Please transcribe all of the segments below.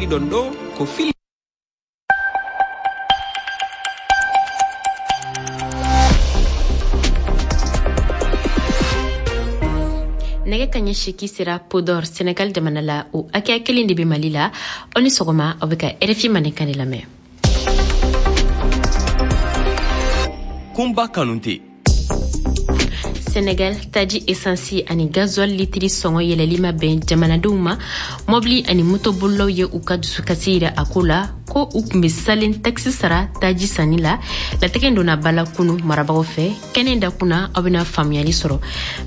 Ɗon ɗo ko fili. Nɛgɛ kaɲɛ 8 sera Podor, Senegal jamana la, o hakɛya kelen de bɛ Mali la. Aw ni sɔgɔma, aw bɛ ka RFI Mandenkan de lamɛn. Kunba Kanute. Senegal, taji esansi ani gasoil litiri sɔngɔ yɛlɛli ma bɛn jamanadenw ma. Mɔbili ani motobolilaw ye u ka dusukasi yira a ko la, ko u tun bɛ salen takisi sara taji sanni la. Latigɛ donna ba la kunu marabagaw fɛ. Kɛnɛ dakun na, aw bɛna faamuyali sɔrɔ.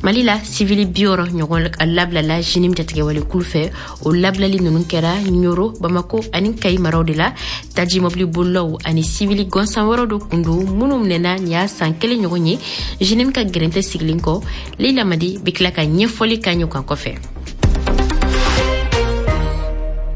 Mali la, sivili 60 ɲɔgɔn labilala JNIM jatigɛwale kulu fɛ. O labilali ninnu kɛra Ɲoro, Bamako ani Kayi maraw de la. Taji mɔbili bolilaw ani sivili gansan wɛrɛw de kun don minnu minɛna nin y'a san kelen ɲɔgɔn ye JNIM ka gɛrɛntɛ sigilen kɔ. Leila Madi bɛ tila ka ɲɛfɔli k'an ye o kan kɔfɛ.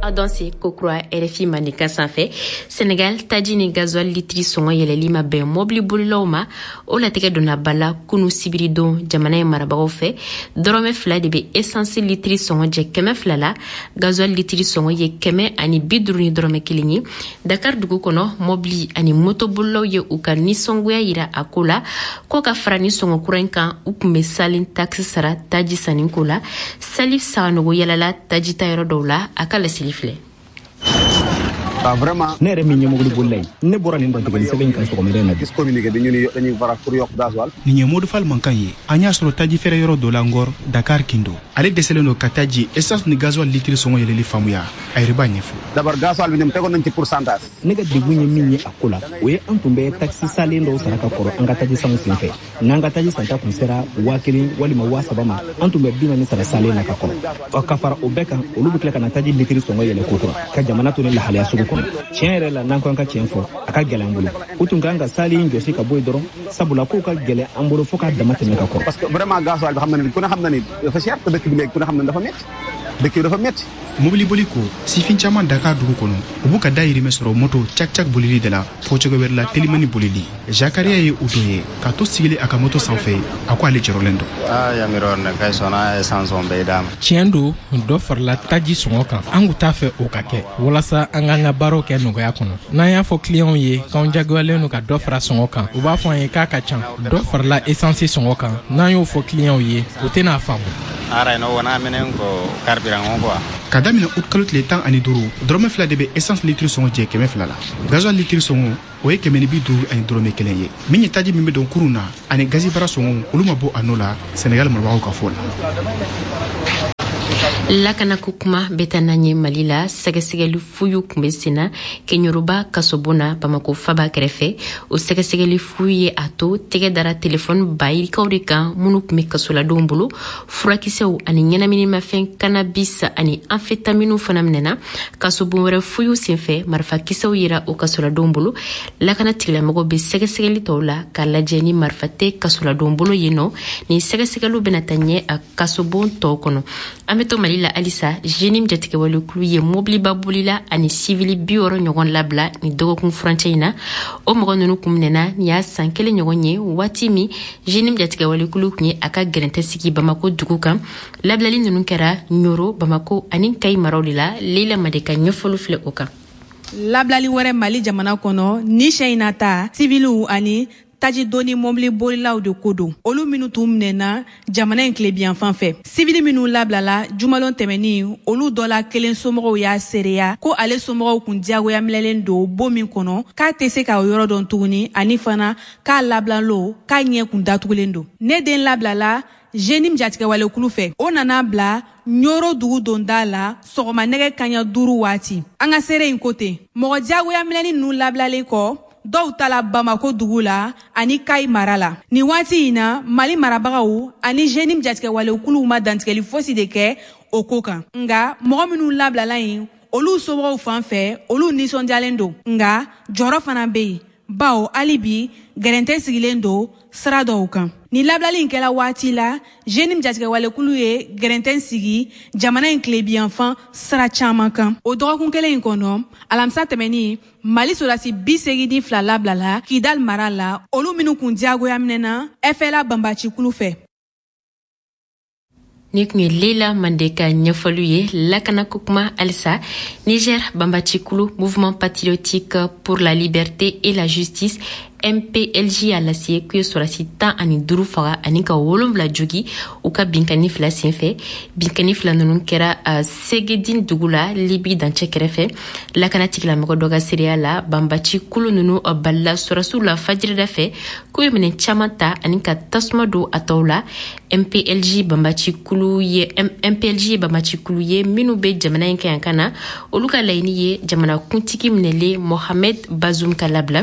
Aw danse kokura RFI Mandenkan sanfɛ. Senegal, taji ni gasoil litiri sɔngɔ yɛlɛli ma bɛn mɔbili bolilaw ma. O latigɛ donna ba la kunu sibiridon jamana in marabagaw fɛ. 2 dɔrɔmɛ de bɛ essence litiri sɔngɔ jɛ 200 la. Gasoil litiri sɔngɔ ye 150 ni dɔrɔmɛ 1 ye. Dakar dugu kɔnɔ, mɔbili ani motobolilaw ye u ka nisɔngoya yira a ko la, ko ka fara ni sɔngɔ kura in kan, u tun bɛ salen takisi sara taji sanni ko la. Salif Saganogo yalala taji ta yɔrɔ dɔw la, a ka laseli filɛ. Vraiment. Ne yɛrɛ min ye mobili bolila ye, ne bɔra nin dantigɛli sɛbɛn in kan sɔgɔmada in na bi. Gis communiqué bi ñu ni dañuy war a pour yokk gasoil. Nin ye Modou Fall mankan ye, an y'a sɔrɔ taji feere yɔrɔ dɔ la Ngor, Dakar Kindo. Ale dɛsɛlen don ka taji essence ni gasoil litiri sɔngɔ yɛlɛli faamuya. A yɛrɛ b'a ɲɛfɔ. D'abord, gasoil bi ñoom tegoon nañ ci pourcentage. Ne ka degun ye min ye a ko la, o ye an tun bɛ takisi salen dɔw sara ka kɔrɔ an ka taji sanw sen fɛ. N'an ka taji santa kun sera 1000 walima 3000 ma, an tun bɛ 40 sara salen na ka kɔrɔ. Ɔ, ka fara o bɛɛ kan, olu bɛ tila ka na taji litiri sɔngɔ yɛlɛ kokura ka jamana to ni lahalaya sugu kɔnɔ. Tiɲɛ yɛrɛ la, n'an ko an ka tiɲɛ fɔ, a ka gɛlɛn an bolo. U tun kan ka salen jɔsi ka bɔ yen dɔrɔn, sabula kow ka gɛlɛn an bolo fo k'a dama tɛmɛ ka kɔrɔ. Parce que vraiment, gasoil bi, xam na ni ku ne xam na ni dafa cher, te dëkk bi léegi ku ne xam na ni dafa métti, dëkk bi dafa métti. Mobili boli ko, sifin caman Dakar dugu kɔnɔ, u b'u ka dayirimɛ sɔrɔ moto cak-cak bolili de la, fɔ cogo wɛrɛ la telimani bolili. Zakaria ye o dɔ ye k'a to sigili a ka moto sanfɛ. A ko ale jɔrɔlen don. Tiɲɛ don, dɔ farala taji sɔngɔ kan. An kun t'a fɛ o ka kɛ, walasa an k'an ka baaraw kɛ nɔgɔya kɔnɔ. N'an y'a fɔ kiliyanw ye k'anw jagoyalen don ka dɔ fara sɔngɔ kan, u b'a fɔ an ye k'a ka ca. Dɔ farala esansi sɔngɔ kan, n'an y'o fɔ kiliyanw ye, u tɛna faamu. Ka daminɛ ut kalo tile 15, 2 dɔrɔmɛ de bɛ essence litiri sɔngɔ jɛ 200 la. Gasoil litiri sɔngɔ, o ye 151 dɔrɔmɛ 1 ye. Min ye taji min bɛ don kurun na ani gazi bara sɔngɔ, olu ma bɔ a nɔ la, Senegal marabagaw ka fɔ la. Lakanako kuma bɛ taa n'an ye Mali la. Sɛgɛsɛgɛli fuyu kun bɛ senna Keɲoroba kasobon na, Bamako faba kɛrɛfɛ. O sɛgɛsɛgɛli fuyu ye a to tɛgɛ dara telefɔni bayirikaw de kan minnu tun bɛ kasoladenw bolo. Furakisɛw ani ɲɛnaminimafɛn cannabis ani amphétamine fana minɛna. Kasobon wɛrɛ fuyu senfɛ, marifakisɛw yera o kasoladenw bolo. Lakana tigilamɔgɔw bɛ sɛgɛsɛgɛli tɔw la k'a lajɛ ni marifa tɛ kasoladenw bolo yen nɔ. Nin sɛgɛsɛgɛliw bɛna taa ɲɛ a kasobon tɔw kɔnɔ. An bɛ to Mali la halisa. JNIM jatigɛwalekulu ye mobiliba bolila ani sivili 60 ɲɔgɔn labila ni dɔgɔkun furancɛ in na. O mɔgɔ ninnu kun minɛna nin y'a san kelen ɲɔgɔn ye, waati min JNIM jatigɛwalekulu tun ye a ka gɛrɛntɛ sigi Bamako dugu kan. Labilali ninnu kɛra Ɲoro, Bamako ani Kayi maraw de la. Leila Made ka ɲɛfɔli filɛ o kan. Labilali wɛrɛ Mali jamana kɔnɔ ni siɲɛ in na ta, siviliw ani taji doni mɔbili bolilaw de ko don, olu minnu tun minɛna jamana in tilebiyanfan fɛ. Sivili minnu labilala jumalon tɛmɛnin, olu dɔ la kelen somɔgɔw y'a seereya ko ale somɔgɔw kun diyagoya minɛlen don bon min kɔnɔ, k'a tɛ se k'a yɔrɔ dɔn tuguni, ani fana k'a labilalo k'a ɲɛ kun datugulen don. Ne den labilala JNIM jatigɛwalekulu fɛ. O nana bila Ɲoro dugu donda la sɔgɔma nɛgɛ kaɲa 5 waati. An ka seere in ko ten, mɔgɔ diyagoya minɛni ninnu labilalen kɔ, dɔw tala Bamako dugu la ani Kayi mara la. Nin waati in na, Mali marabagaw ani JNIM jatigɛwalekuluw ma dantigɛli fosi de kɛ o ko kan. Nga mɔgɔ minnu labilala yen, olu somɔgɔw fan fɛ, olu nisɔndiyalen don, nga jɔrɔ fana bɛ yen, bawo hali bi gɛrɛntɛ sigilen don sira dɔw kan. Nin labilali in kɛla waati la JNIM jatigɛwalekulu ye gɛrɛntɛ sigi jamana in tilebiyanfan sira caman kan. O dɔgɔkun kelen in kɔnɔ, alamisa tɛmɛnin, Mali sɔrɔdasi 82 labilala Kidal mara la, olu minnu kun diyagoya minɛna FLA banbacikulu fɛ. Ni tun ye Leila Mande ka ɲɛfɔliw ye. Lakanako kuma halisa. Niger banbacikulu Mouvement patriotique pour la liberté et la justice, MPLJ, y'a lase k'u ye sɔrɔdasi 15 faga ani ka 7 jogi u ka binkanni fila senfɛ. Binkanni fila ninnu kɛra Segedin dugu la, Libi dancɛ kɛrɛfɛ. Lakana tigilamɔgɔ dɔ ka seereya la, banbaci kulu ninnu balila sɔrɔdasiw la fajirida fɛ, k'u ye minɛn caman ta ani ka tasuma don a tɔw la. MPLJ banbaci kulu ye MPLJ ye banbaci kulu ye minnu bɛ jamana in kan kan na. Olu ka laɲini ye jamana kuntigi minɛlen Mohamed Bazoum ka labila.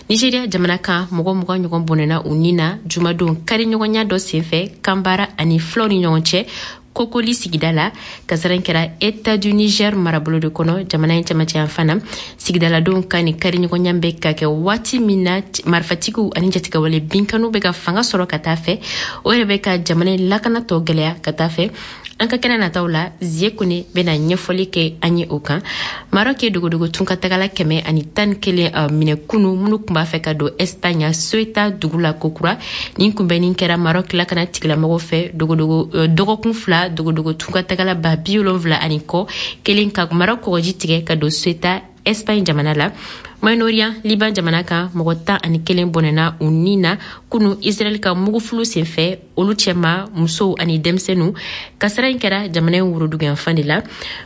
Nigeria jamana kan, mɔgɔ 20 ɲɔgɔn bɔnɛna u ni na jumadon kari ɲɔgɔnya dɔ senfɛ Kanbara ani filaw ni ɲɔgɔn cɛ Kokoli sigida la. Kasara in kɛra État du Niger marabolo de kɔnɔ, jamana in camancɛ yanfan na. Sigidaladenw ka nin kari ɲɔgɔnya bɛ ka kɛ waati min na marifatigiw ani jatigɛwale binkaniw bɛ ka fanga sɔrɔ ka taa fɛ, o yɛrɛ bɛ ka jamana in lakana tɔ gɛlɛya ka taa fɛ. An ka kɛnɛ nataw la, Zie Kone bɛna ɲɛfɔli kɛ an ye o kan. Maroc ye dogodogo tunkatagala 111 minɛ kunu, minnu tun b'a fɛ ka don Espagne Ceuta dugu la kokura. Nin kunbɛnni kɛra Maroc lakana tigilamɔgɔw fɛ dogodogo dɔgɔkun 2 dogodogo tunkatagala 70 ani kɔ kelen ka Maroc kɔgɔji tigɛ ka don Ceuta, Espagne jamana la. Moyen-Orient, Liban jamana kan, mɔgɔ 11 bɔnɛna u ni na kunu Israɛl ka mugufulu senfɛ, olu cɛma musow ani denmisɛnninw. Kasara in kɛra jamana in woroduguyanfan de la.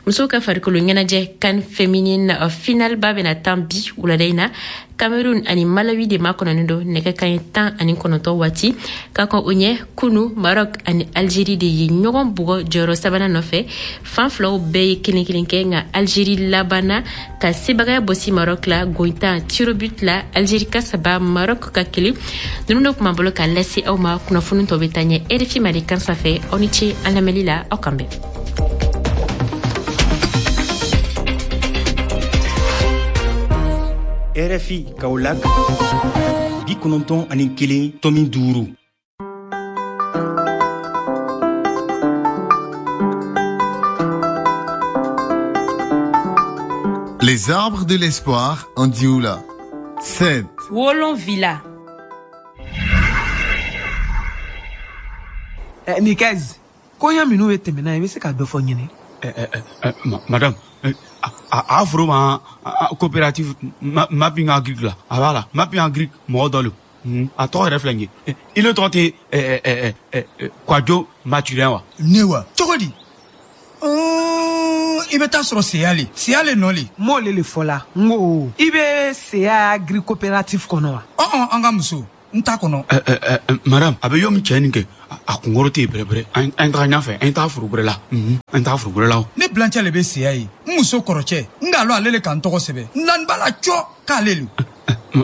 Musow ka farikolo ɲɛnajɛ CAN féminine finale ba bɛna tan bi wulada in na. Cameroun ani Malawi de makɔnɔnen don nɛgɛ kanɲɛ 19 waati. Ka kɔn o ɲɛ, kunu Maroc ani Algérie de ye ɲɔgɔn bugɔ jɔyɔrɔ sabanan nɔfɛ. Fan filaw bɛɛ ye kelen kelen kɛ, nka Algérie labanna ka sebagaya bɔsi Maroc la goyintan tir au but la, Algérie ka 3, Maroc ka 1. Ninnu de tun b'an bolo ka lase aw ma. Kunnafoni tɔ bɛ taa ɲɛ RFI Mali kan sanfɛ. Aw ni ce an lamɛnli la, aw kan bɛn. RFI Kaolack 91.5. Les arbres de l'espoir en Dioula. 7. Wolon Villa. Nikez, koɲa minnu ye tɛmɛna i bɛ se ka dɔ fɔ ɲini? Madame, a foro ma coopérative Mapping Agric la, a b'a la Mapping Agric mɔgɔ dɔ le. A tɔgɔ yɛrɛ filɛ nin ye. I le tɔgɔ tɛ Kwajo Mathurin wa? Ne wa? Cogo di? I bɛ taa sɔrɔ Seya le. Seya le nɔ le. N b'o le fɔ la. N ko i bɛ Seya Agri coopérative kɔnɔ wa? An ka muso, n t'a kɔnɔ. Madame, a bɛ yɔrɔ min cɛ nin kɛ, a kunkɔrɔ tɛ yen bɛrɛbɛrɛ. An taga ɲɛfɛ, an taga foro wɛrɛ la. An taga foro wɛrɛ la. Ne bilancɛ le bɛ Seya ye. N muso kɔrɔcɛ, n k'a lɔn ale le ka n tɔgɔ sɛbɛn. N lani b'a la cɔ k'ale le.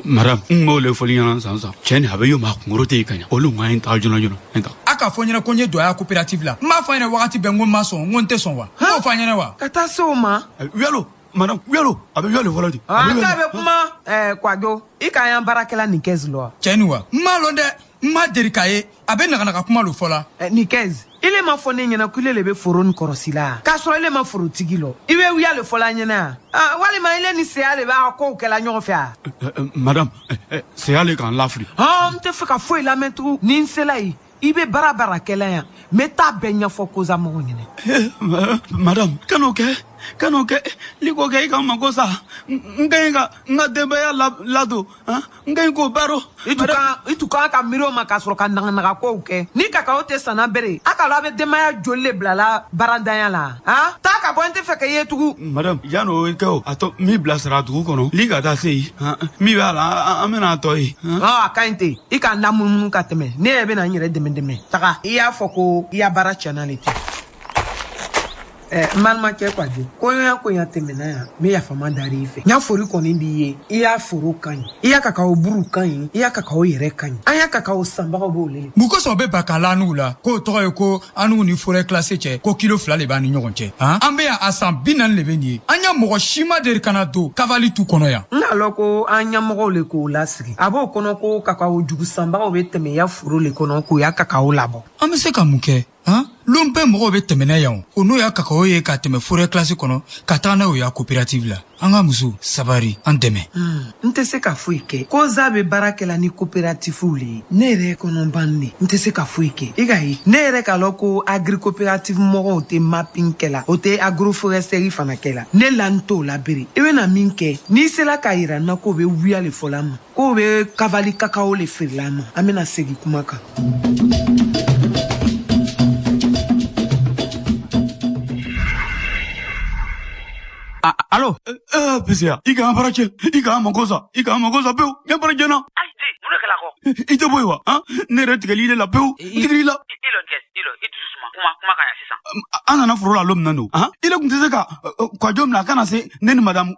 Madame, n b'o le fɔli ɲɛna sisan sisan. Cɛ nin a bɛ yɔrɔ min a kunkɔrɔ tɛ yen ka ɲa. Olu ko an taga joona joona. An taga. A k'a fɔ n ɲɛna ko n ye don a ya coopérative la. N b'a fɔ a ɲɛna wagati bɛɛ n ko n ma sɔn, n ko n tɛ sɔn wa? N b'o fɔ a ɲɛna wa? Ka taa se o ma. Yalo, madame, yalo, a bɛ yalo fɔlɔ de. An ta bɛ kuma, Kwajo, i k'an y'an baarakɛla Nikez lɔ wa? Cɛ nin wa? N m'a lɔn dɛ. N ma deli k'a ye, a bɛ naganaga kuma lo fɔ la. Nikez, ile ma fɔ ne ɲɛna ko ile le bɛ foro nin kɔrɔsi la. K'a sɔrɔ ile ma forotigi lɔ. I bɛ wuya le fɔla ɲɛna yan. Walima ile ni Seya le b'a kow kɛla ɲɔgɔn fɛ a? Madame, Seya le k'an lafili. N tɛ fɛ ka foyi lamɛn tugun. Ni n sela yen, i bɛ baara baara kɛla yan, n bɛ taa bɛɛ ɲɛfɔ koza mɔgɔw ɲɛna. Madame, kan'o kɛ, kan'o kɛ. N'i k'o kɛ i ka n mako sa. N ka ɲi ka n ka denbaya ladon, n ka ɲi k'o baro. I tun kan ka miiri o ma k'a sɔrɔ ka naganaga kow kɛ. Ni kakawo tɛ sanna bere, a k'a lɔn a bɛ denbaya joli le bilala baarantanya la. Taa ka bɔ, n tɛ fɛ ka ye tugun. Madame, yan'o kɛ o, a tɔ min bilasira dugu kɔnɔ, n'i ka taa se yen, min b'a la, an bɛna a tɔ ye. A ka ɲi ten, i k'a lamunumunu ka tɛmɛ. Ne yɛrɛ bɛna n yɛrɛ dɛmɛ dɛmɛ. Taga, i y'a fɔ ko i ya baara tiɲɛna le ten. N balimakɛ Kwajo, koɲa koɲa tɛmɛna yan, n bɛ yafama dar'i fɛ. N y'a fori kɔni b'i ye, i y'a foro ka ɲi, i y'a kakawo buru ka ɲi, i y'a kakawo yɛrɛ ka ɲi. An y'a kakawo sanbagaw b'o le. Mun kosɔn o bɛ ban k'a la anugu la k'o tɔgɔ ye ko anugu ni forêt classée cɛ ko kilo 2 de b'an ni ɲɔgɔn cɛ? An bɛ yan a san 40 de bɛ nin ye. An ya mɔgɔ si ma deli ka na don kavali tu kɔnɔ yan. N k'a lɔn ko an ɲɛmɔgɔw le k'o lasigi. A b'o kɔnɔ ko kakawo jugu sanbagaw bɛ tɛmɛ ya foro le kɔnɔ k'o ya kakawo labɔ. An bɛ se ka mun kɛ? Lon bɛɛ mɔgɔw bɛ tɛmɛnɛ yan o n'o y'a kakao ye ka tɛmɛ forêt classée kɔnɔ ka taga n'a ye o ya coopérative la. An ka muso sabari an dɛmɛ. N tɛ se ka foyi kɛ. Koza bɛ baara kɛla ni coopérativew le ye. Ne yɛrɛ kɔnɔban ne n tɛ se ka foyi kɛ. I ka ye ne yɛrɛ k'a lɔn ko agri coopérative mɔgɔw tɛ mapping kɛla, o tɛ agroforesterie fana kɛla. Ne la n t'o la bere. I bɛna min kɛ, n'i sela k'a yira n na k'o bɛ wuya le fɔla n ma, k'o bɛ kavali kakao le feerela n ma, an bɛna segin kuma kan. Alo. PCA, i k'an baara cɛ, i k'an mako sa, i k'an mako sa pewu, ne baara jɛna. Ayi, mun de kɛla kɔ? I tɛ bɔ yen wa? Han? Ne yɛrɛ tigɛli de la pewu, n tigɛli la. I lɔ kɛ, i lɔ, i dusu suma, kuma ka ɲa sisan. An nana foro la lon min na don, han? I le kun tɛ se ka Kwadwo minɛ a kana se ne ni madame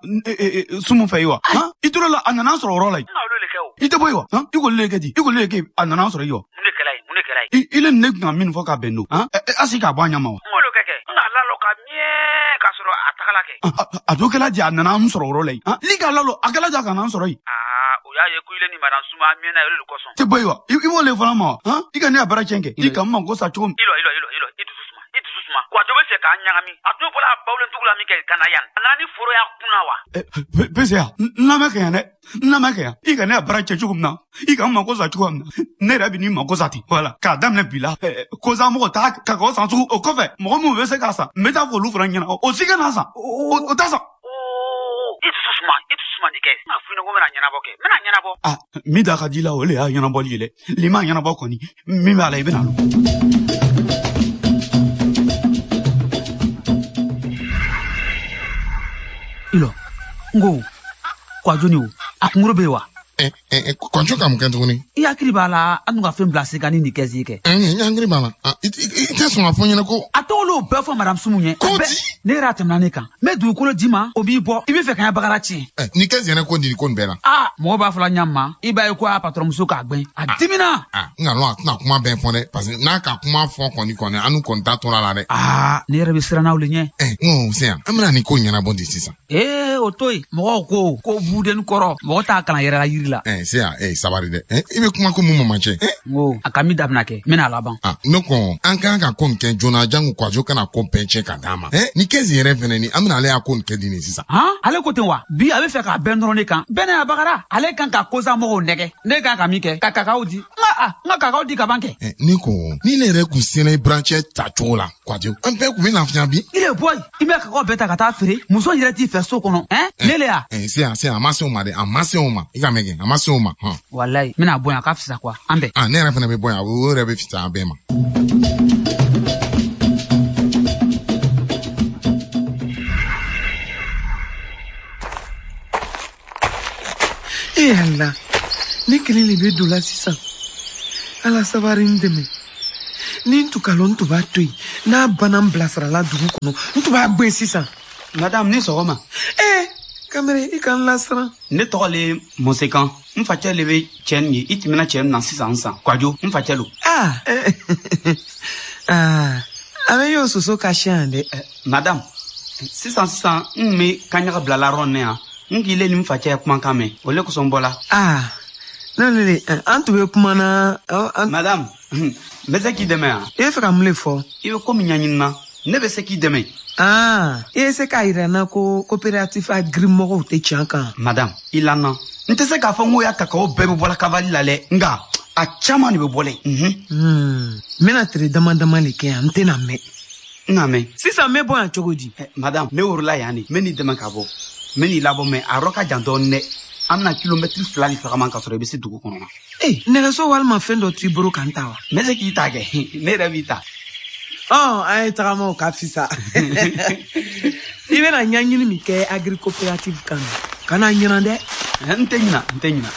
Sumu fɛ yen wa? Han? I tora la, a nana an sɔrɔ o yɔrɔ la yen. N ka olu le kɛ o. I tɛ bɔ yen wa? Han? I k'olu le kɛ di? I k'olu le kɛ a nana an sɔrɔ yen wa? Mun de kɛla yen? Mun de kɛla yen? I le ni ne kun ka min fɔ k'a bɛn don, han? A sigi k'a bɔ a ɲɛ ma wa? N k'olu kɛ kɛ, n k'a lalɔ ka miɛ k'a sɔrɔ a tagala kɛ. A dɔ kɛla di a nana an sɔrɔ o yɔrɔ la yen. Li k'a lalɔ, a kɛla di a kana an sɔrɔ yen. Aa, o y'a ye ko ile ni madame Suma miɛna olu le kosɔn. Tɛ bɔ yen wa? I b'o le fana ma wa? Han? I ka ne ya baara tiɲɛ kɛ. I ka n mako sa cogo min. I lɔ, i dusu suma, i dusu suma. Kwadwo bɛ fɛ k'an ɲagami. A tun bɔra a bawulentugu la min kɛ ka na yan. A nana ni foro y'a kunna wa? PCA, n lamɛn kɛ yan dɛ. N lamɛn kɛ yan. I ka ne ya baara tiɲɛ cogo min na, i ka n mako sa cogo min na, ne yɛrɛ bɛ n'i mako sa ten. Voilà, k'a daminɛ bi la. Koza mɔgɔ t'a kakao san tugun. O kɔfɛ, mɔgɔ minnu bɛ se k'a san, n bɛ taa fɔ olu fana ɲɛna. O si ka n'a san. O t'a san. I dusu suma, i dusu suma nin kɛ. N k'a f'i ɲɛna ko n bɛna ɲɛnabɔ kɛ. N bɛna ɲɛnabɔ. Ah, min da ka di i la, o le y'a ɲɛnabɔli ye dɛ. N'i m'a ɲɛnabɔ kɔni, min b'a la, i bɛna lɔn. I lɔ, n ko Kwadwo ni o, a kunkolo bɛ yen wa? Kwadwo ka mun kɛ tuguni? I hakili b'a la an tun ka fɛn bila sen kan ni nin kɛsi kɛ. N hakili b'a la. I tɛ sɔn k'a fɔ n ɲɛna ko. A tɔgɔ l'o bɛɛ fɔ madame Sumu ɲɛ. Ko di? Ne yɛrɛ a tɛmɛna ne kan. N bɛ dugukolo d'i ma, o b'i bɔ. I bɛ fɛ ka n ka bagara tiɲɛ. Ni kɛsi yɛrɛ ko nin ko nin bɛɛ la. Aa, mɔgɔ b'a fɔla ɲa ma, i b'a ye ko a patɔrɔn muso k'a gbɛn. A dimina. N ka lɔn a tɛna kuma bɛɛ fɔ dɛ, parce que n'a ka kuma fɔ kɔni an kɔni t'a tora la dɛ. Aa, ne yɛrɛ bɛ siran n'aw le ɲɛ. N ko Seya, an bɛna nin ko ɲɛnabɔ di sisan. Ee, o to yen. Mɔgɔw ko buden kɔrɔ, mɔgɔ t'a kalan yɛrɛ la yiri la. Seya, sabari dɛ. I bɛ kuma ko mun mamacɛ? N ko a ka min dabila kɛ, n bɛna a laban. Ne ko an kan ka ko nin kɛ joona jango Kwadwo kana ko bɛɛ cɛ ka d'a ma. Ni kɛsi yɛrɛ fɛnɛ ni an bɛna ale y'a ko nin kɛ di nin sisan. Han, ale ko ten wa? Bi a bɛ fɛ k'a bɛn dɔrɔn ne kan. Bɛɛ n'a bagara. Ale kan ka kosa mɔgɔw nɛgɛ. Ne kan ka min kɛ, ka kakao di. N ka kakao di ka ban kɛ. Ne ko ni ne yɛrɛ kun sera i burancɛ ta cogo la, Kwadwo, an bɛɛ kun bɛ lafiya bi. I le bɔ yen, i bɛ kakao bɛɛ ta ka taa feere. Muso yɛrɛ t'i fɛ so kɔnɔ. Ne le ya. Seya, a ma se o ma dɛ, a ma se o ma. I ka mɛn kɛ, a ma se o ma. Walayi, n bɛna bɔ yan, a ka fisa quoi. An bɛn. Ne yɛrɛ fana bɛ bɔ yan, o yɛrɛ bɛ fisaya an bɛɛ ma. E Ala, ne kelen de bɛ don la sisan. Ala sabari n dɛmɛ. Ni n tun ka lɔn n tun b'a to yen. N'a banna n bilasirala dugu kɔnɔ, n tun b'a gɛn sisan. Madame, ni sɔgɔma. Kamalen, i ka n lasiran. Ne tɔgɔ le Mɔsekan. N facɛ le bɛ cɛ nin ye. I tɛmɛna cɛ min na sisan sisan. Kwadwo, n facɛ lo. A bɛ y'o soso ka siyan dɛ. Madame, sisan sisan n bɛ kaɲaga bila la yɔrɔ nin yan. N k'i le ni n facɛ ye kumakan mɛn. O le kosɔn n bɔla. Ne an tun bɛ kuma na. Madame, n bɛ se k'i dɛmɛ yan. I bɛ fɛ ka mun le fɔ? I bɛ ko min ɲɛɲini na, ne bɛ se k'i dɛmɛ. I ye se k'a yira n na ko coopérative agri mɔgɔw tɛ tiɲɛ kan. Madame, i lamɛn. N tɛ se k'a fɔ n ko ya kakao bɛɛ bɛ bɔla kavali la dɛ, nka a caman de bɛ bɔ dɛ. N bɛna tile dama dama de kɛ yan, n tɛna mɛn. N na mɛn. Sisan n bɛ bɔ yan cogo di? Madame, ne worola yan de, n bɛ n'i dɛmɛ ka bɔ. N bɛ n'i labɔ mɛ a yɔrɔ ka jan dɔɔnin dɛ. An bɛna kilomɛtiri 2 de tagama ka sɔrɔ i bɛ se dugu kɔnɔ na. Nɛgɛso walima fɛn dɔ t'i bolo ka n ta wa? N bɛ se k'i ta kɛ, ne yɛrɛ b'i ta. An ye tagama o ka fisa. I bɛna ɲɛɲini min kɛ agri coopérative kan, kana ɲinɛ dɛ. N tɛ ɲinɛ, n tɛ ɲinɛ.